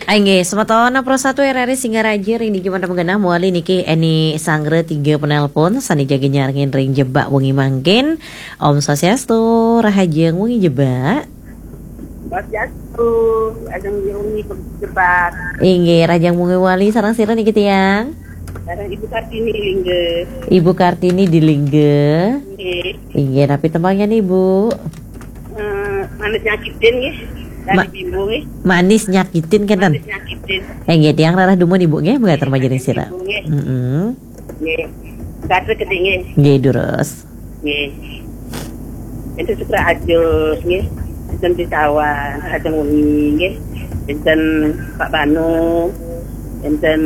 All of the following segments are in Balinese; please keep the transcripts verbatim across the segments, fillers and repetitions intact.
Inggih, semeton Pro satu R R I Singaraja ring dija manten genah mawali niki Eni Sanggra tiga penelpon sane jaga nyarengin ring jebak wengi mangkin. Om Swastiastu, rahajeng wengi jebak. Swastiastu, rahajeng wengi jebak. Inggih, rahajeng wengi mawali sareng sira niki tiang. Sareng Ibu Kartini Lingga. Ibu Kartini di Lingga. Nggih. Inggih, napi tembangnya nih, Bu? Eh, manis nyakitin nggih. Dari Ma- Bimbo nggih. Manis nyakitin kenten. Manis nyakitin. Eh, nggih, tiang rarah dumun Ibu nggih, mangga termaja ring sira. Bimbo nggih. Mm-mm. Nggih. Kata keding nggih. Nggih, durus. Nggih. Itu suka ajus nggih. Enten Pitawan, ajeng wengi nggih. Enten Pak Banu, enten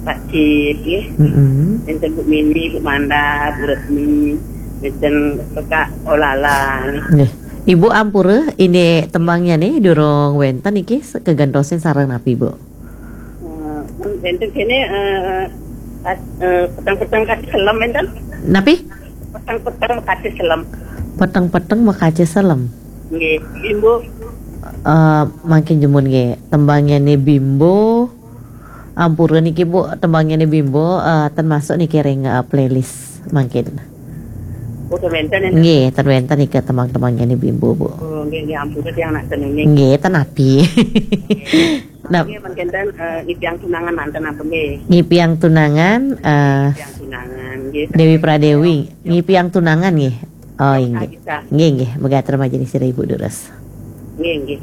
Pak Cip nggih. Mm-mm. Enten Bu Mini, Bu Manda, Bu Retmi, enten Pekak Olala nggih. Nggih. Ibu ampura, ini tembangnya nih durung wenten niki se- kegentosin sareng napi, Bu? Eh, enten kene eh, kat- eh, peteng-peteng kati selem enten. Napi? Peteng-peteng kati selem. Peteng-peteng makaca selem. Nggih, Bimbo. Eh, mangkin dumun nggih, tembangnya nih Bimbo. Ampura niki Bu, tembangnya nih Bimbo eh, ten masuk niki ring eh, playlist mangkin. Oh, ten wenten enten. Nggih, ten wenten niki tembang-tembangnya nih Bimbo, Bu. Oh, nggih, nggih, ampura tiang nak tenune. Nggih, ten napi. Nah, nggih, mangkin ten eh, ngipiang tunangan manten apa nggih? Ngipiang tunangan eh Ngipiang tunangan nggih. Dewi Pradewi, ngipiang tunangan nggih. Oh, inggih. Bisa. Nggih, nggih, mangga termaja ring sira Ibu durus. Nggih, nggih.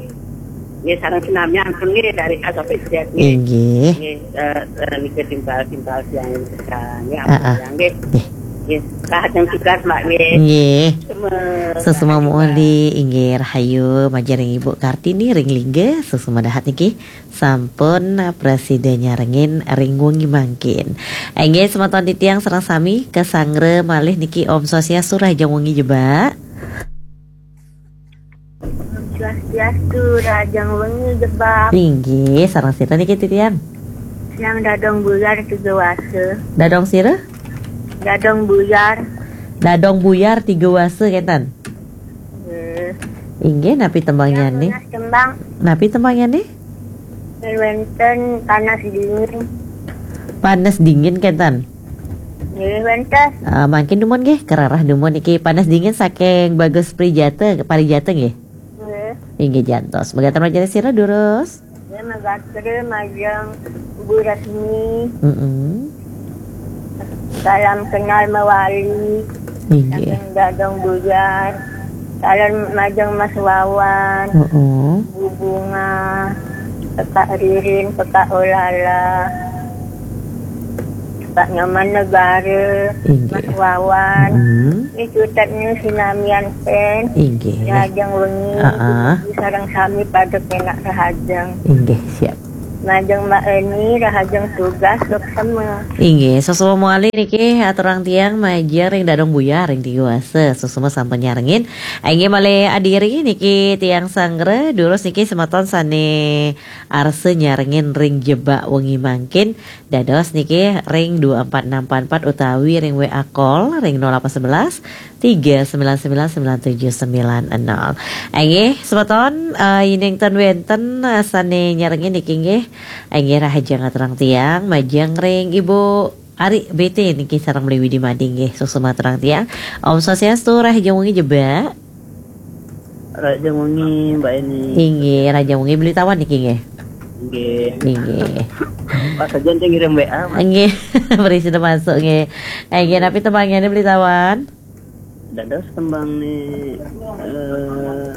Nggih, sareng sinamian pun nggih dari A sampai Z nggih. Inggih. Nggih, eh, eh, niki timpal-timpal tiang niki nggih, Ah, ah. Tiang nggih. Nggih. Nggih, rahajeng tugas Mbak nggih. Nggih. Semua. Sesama muli inggih rahayu majeng ring Ibu Kartini ring Lingga, sesama dahat niki sampun prasida nyarengin ring wengi mangkin. Inggih semeton titiang sareng sami kasanggra malih niki Om Swastiastu rahajeng wengi jebak. Swastiastu, rahajeng wengi jebak. Inggih, sareng sira niki titiang? Yang Dadong Buyar tiga wasa. Dadong sira? Dadong Buyar. Dadong Buyar tiga wasa kenten. Eh. Inggih, napi tembangnya nih? Tembang. Napi tembangnya nih? Wenten panas dingin. Panas dingin kenten. Nggih, wenten. Ah, mangkin dumun nggih, kararah dumun niki panas dingin saking Bagus Prijata, Parijata nggih. Nggih. Inggih jantos. Mangga termaja ring sira durus. Nggih, mangga majeng Bu Rasmi. Mm-mm. Salam kenal mawali. Inggih. Saking Dadong Buyar. Salam majeng Mas Wawan. Mm-mm. Bu Bunga. Pekak Ririn, Pekak Olala. Pak Nyoman Negara, inggih. Mas Wawan. Hmm. Ini cutetnya sinamian pen. Inggih. Rahajeng wengi. Heeh. Sareng sami pada kenak rahajeng. Inggih, siap. Majeng Mbak Eni, rahajeng tugas, dok sama. Inggih, sesama mawali niki aturang tiang majeng ring Dadong Buyar ring tiga wasa. Sesama sampun nyarengin. Inggih malih adiri niki tiang sanggra, durus niki semeton sane arsa nyarengin ring jebak wengi mangkin. Dados niki ring dua empat enam empat empat utawi ring W A call ring nol delapan sebelas tiga sembilan sembilan sembilan tujuh sembilan nol. Inggih, semeton, eh, yening ten wenten, eh, sane nyarengin niki nggih. Inggih, rahajeng aturang tiang, majeng ring Ibu Ari B T niki sareng Beli Widi Mading nggih, suksma aturang tiang. Om Swastiastu, rahajeng wengi jebak. Rahajeng wengi, Mbak Eni. Inggih, rahajeng wengi Beli Tawan niki nggih. Nggih. Inggih. Pas aja nanti ngirim W A, Mas. Nggih, beri sudah masuk nggih. Inggih, napi tembangnya nih Beli Tawan? Dados tembang nih eh,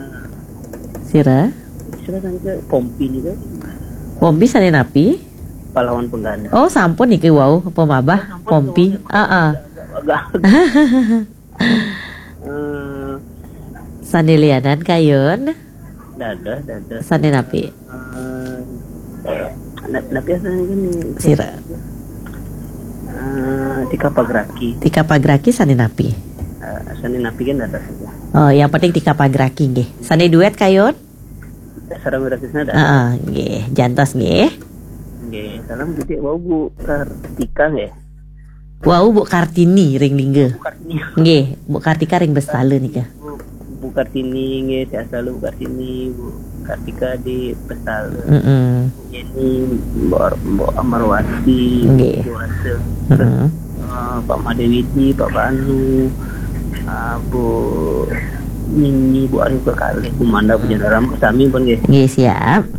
sira? Sira kan ke Pompi nih kan. Pompi sane napi? Pahlawan Penggalang. Oh, sampun niki wau pemabah. Oh, sampun, Pompi. Heeh. Agak. Eh, sane lianan kayun. Dados, dados. Sane napi? Eh, na- napi sane gini. Sira. Eh, Tika Pagraki. Tika Pagraki sane napi? Eh, sane napi kan dados. Oh, yang penting Tika Pagraki nggih. Sane duet kayun? Sareng Wira Krisna dados. Heeh, nggih. Jantos nggih. Nggih, salam gede wau Bu Kartika nggih. Wau Bu Kartini ring Lingga. Bu Kartini. Nggih, Bu Kartika ring Bestala nika. Bu, Bu Kartini nggih, sehat selalu Bu Kartini, Bu. Kartika di Pesala. Mm-mm. Ini Mbok Mbok Amarwati, Nggih. Buasa. Mm-mm. Eh, Pak Made Widi, Pak Banu, eh, Bu Nini, Bu Arif kekalih, Bu Manda, Bu Janaram, Bu Sami pun nggih. Nggih, siap.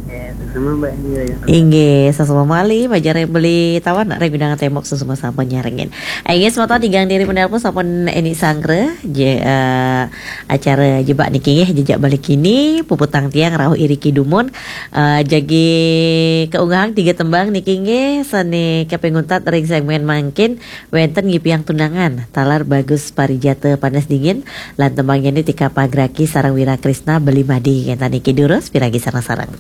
Eh, sama Mbak Nira ya. Inggih, sasama malih, bajare beli tawan rek bidang tembok sasama sampun nyarengin. Inggih, semata tigang diri penelpon sampun Eni Sangre, je, eh, acara jebak niki nggih, jejak balik kini, puputang tiang rauh iriki dumun, eh, jagi keunggahang tiga tembang niki nggih, sane kepenguntat ring segmen mangkin, wenten ngipiang tunangan, talar bagus parijata panas dingin, lan tembang ini tika pagraki sareng Wira Krisna beli madi, ngenten niki durus, piragi sareng-sareng.